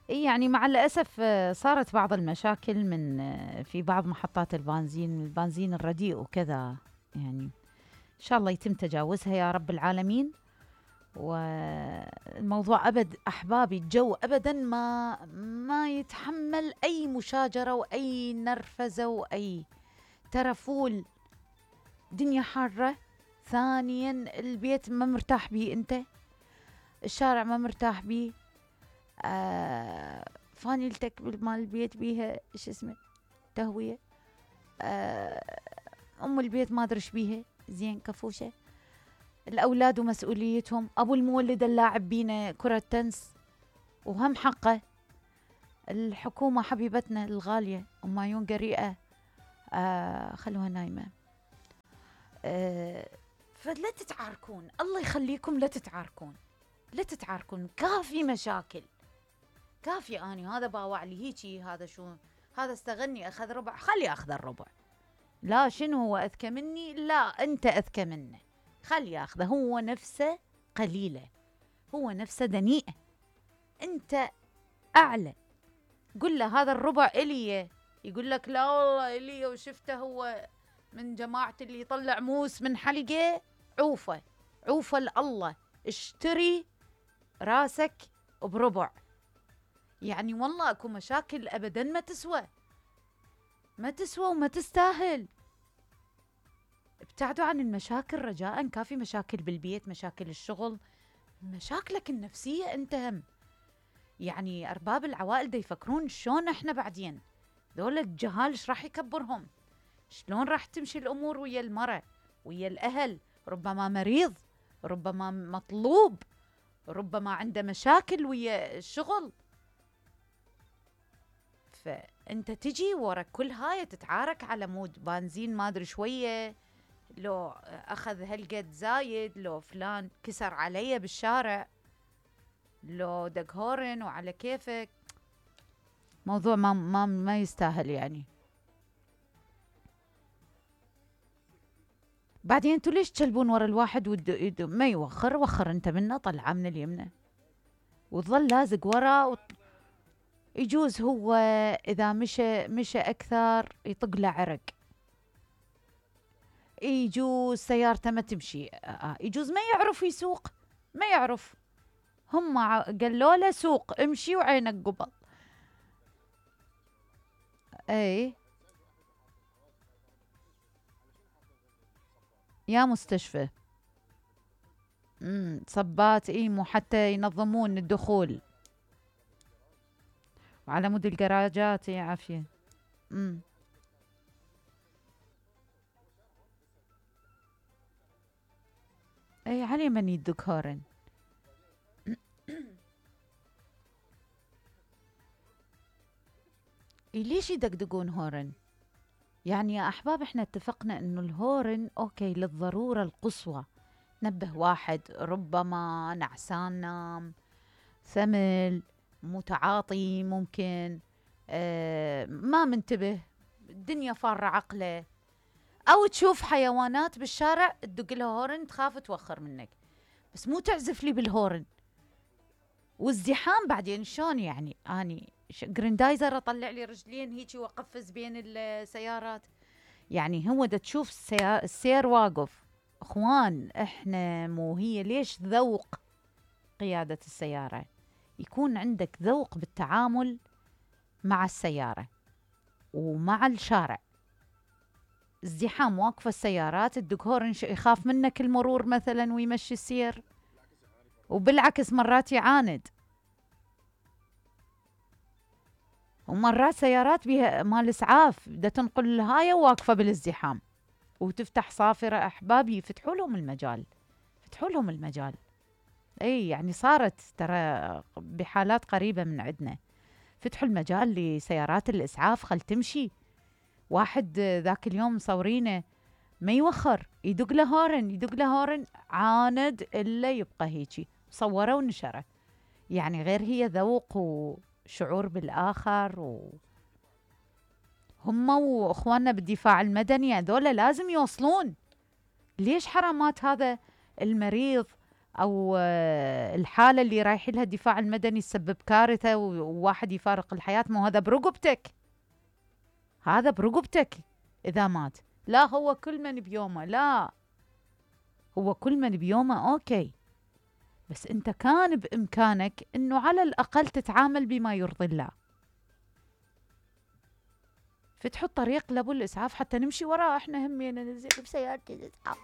يعني مع الأسف صارت بعض المشاكل من في بعض محطات البنزين الرديء وكذا. يعني إن شاء الله يتم تجاوزها يا رب العالمين. والموضوع أبد أحبابي، الجو أبدا ما يتحمل أي مشاجرة وأي نرفزة وأي ترفول. دنيا حارة. ثانيا البيت ما مرتاح بيه أنت، الشارع ما مرتاح بيه. فانيلتك مال البيت بيها ايش اسمه تهوية. ام البيت ما ادري ايش بيها، زين كفوشة. الاولاد ومسؤوليتهم، ابو المولد اللاعب بينا كرة تنس وهم حقه. الحكومة حبيبتنا الغالية ام عيون قريئة خلوها نايمة. فلا تتعاركون، الله يخليكم، لا تتعاركون لا تتعاركون. كافي مشاكل، كافي. اني هذا باوع لي هيجي، هذا شو، هذا استغني اخذ ربع، خلي اخذ الربع. لا شنو هو اذكى مني؟ لا انت اذكى منه، خلي ياخذه. هو نفسه قليله، هو نفسه دنيئه، انت اعلى. قل له هذا الربع الي، يقول لك لا والله الي، وشفته هو من جماعه اللي يطلع موس من حلقه. عوفه عوفه لله، اشتري راسك بربع. يعني والله اكو مشاكل ابدا ما تسوى، ما تسوى وما تستاهل. ابتعدوا عن المشاكل رجاء. كافي مشاكل بالبيت، مشاكل الشغل، مشاكلك النفسية انت هم. يعني ارباب العوائل دا يفكرون شلون احنا بعدين، ذول الجهال ايش راح يكبرهم، شلون راح تمشي الامور ويا المرأة ويا الاهل. ربما مريض، ربما مطلوب، ربما عنده مشاكل ويا الشغل. فانت تجي ورا كل هاي تتعارك على مود بنزين ما ادري شويه، لو اخذ هالقد زايد، لو فلان كسر علي بالشارع، لو دق هورن وعلى كيفك. موضوع ما يستاهل يعني. بعدين انتوا ليش تشلبون ورا الواحد ما يوخر؟ وخر انت منه، طلعه من اليمنى وتظل لازق ورا يجوز هو إذا مشى أكثر يطق له عرق، يجوز سيارته ما تمشي، يجوز ما يعرف يسوق، ما يعرف. هم قالوا له سوق، امشي وعينك قبل. اي يا مستشفى. صبات، اي مو حتى ينظمون الدخول وعلى مود الجراجات. يا عافية. اي علي من يدق هورن. ليش يدقدقون هورن؟ يعني يا أحباب احنا اتفقنا انه الهورن اوكي للضرورة القصوى، نبه واحد ربما نعسان نام، ثمل، متعاطي ممكن، ما منتبه، الدنيا فارة عقله، او تشوف حيوانات بالشارع تدق لها هورن تخاف توخر منك، بس مو تعزف لي بالهورن. والزحام بعدين شلون يعني؟ اني جريندايزر اطلع لي رجلين هيجي واقفز بين السيارات. يعني هو دا تشوف السير واقف. اخوان احنا مو هي ليش ذوق قيادة السيارة؟ يكون عندك ذوق بالتعامل مع السيارة ومع الشارع. ازدحام، واقفة السيارات تدق هورن، يخاف منك المرور مثلا ويمشي السير، وبالعكس مرات يعاند. ومرات سيارات بها مال اسعاف بدها تنقل الهاية واقفة بالازدحام وتفتح صافرة. احبابي فتحوا لهم المجال، فتحوا لهم المجال. اي يعني صارت ترى بحالات قريبة من عندنا، فتحوا المجال لسيارات الاسعاف خل تمشي. واحد ذاك اليوم مصورينه ما يوخر، يدق له هورن، يدق له هورن، عاند الا يبقى هيجي، صوره ونشره. يعني غير هي ذوق وشعور بالاخر. هم واخواننا بالدفاع المدني هذول لازم يوصلون. ليش حرامات هذا المريض أو الحالة اللي رايح لها الدفاع المدني تسبب كارثة وواحد يفارق الحياة، مو هذا برقبتك، هذا برقبتك إذا مات. لا هو كل من بيومه، لا هو كل من بيومه أوكي، بس أنت كان بإمكانك أنه على الأقل تتعامل بما يرضي الله، فتحط طريق لأبو الإسعاف حتى نمشي وراه، احنا همينا ننزل بسيارة الإسعاف.